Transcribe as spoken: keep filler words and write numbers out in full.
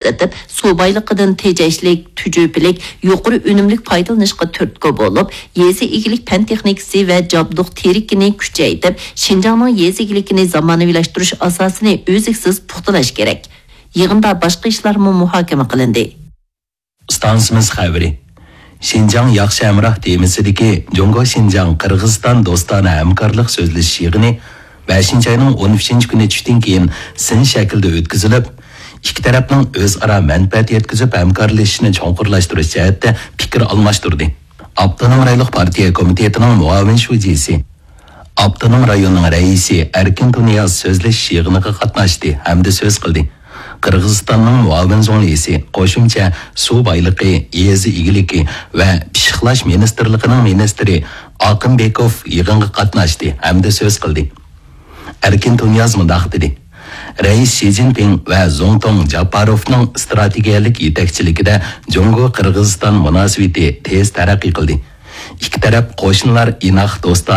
ئېتىپ، سۇ بايلىقىدىن تېجەشلىك، تۈجۈپىلىك، يۇقىرى ئۈنۈملۈك پايدىلىنىشقا تۈرتكە بولۇپ، يېزا ئىگىلىك پەن تېخنىكىسى ۋە جابدۇق تېرىكىنى كۈچەيتىپ، شىنجاڭنىڭ يېزا ئىگىلىكىنى زامانىۋىلاشتۇرۇش ئاساسىنى ئۈزلۈكسىز پۇختىلاش كېرەك. يىغىندا باشقا ئىشلارمۇ مۇھاكىمە قىلىندى. ئىستانسىمىز خەۋىرى. شىنجاڭ ياخشى ھەمراھ تېمىسىدىكى جۇڭگو شىنجاڭ قىرغىزىستان دوستانە ھەمكارلىق سۆزلىشىش يىغىنى بەشىنچى ئاينىڭ ئون ئۈچىنچى كۈنى چۈشتىن كېيىن سىن شەكلىدە ئۆتكۈزۈلۈپ، ئىككى تەرەپنىڭ ئۆزئارا مەنپەئەت يەتكۈزۈپ ھەمكارلىشىشىنى چوڭقۇرلاشتۇرۇش جەھەتتە پىكىر ئالماشتۇردى. ئاپتونوم رايونلۇق پارتىيە كومىتېتىنىڭ مۇئاۋىن شۇجىسى، ئاپتونوم رايوننىڭ رەئىسى ئەركىن تۇنىياز سۆزلىشىش يىغىنىغا قاتناشتى ھەمدە سۆز قىلدى. قىرغىزىستاننىڭ مۇئاۋىن زۇڭلىسى قوشۇمچە سۇ بايلىقى، يېزا ئىگىلىكى ۋە پىششىقلاش مىنىستىرلىقىنىڭ مىنىستىرى ئاقىنبېكوف يىغىنغا قاتناشتى ھەمدە سۆز قىلدى. ئەركىن تۇنىياز مۇنداق دېدى: رەئىس شى جىنپىڭ ۋە زۇڭتۇڭ جاپپاروفنىڭ ئىستراتېگىيەلىك يېتەكچىلىكىدە جۇڭگو قىرغىزىستان مۇناسىۋىتى تېز تەرەققىي قىلدى. ئىككى تەرەپ قوشنىلار ئىناق دوستانە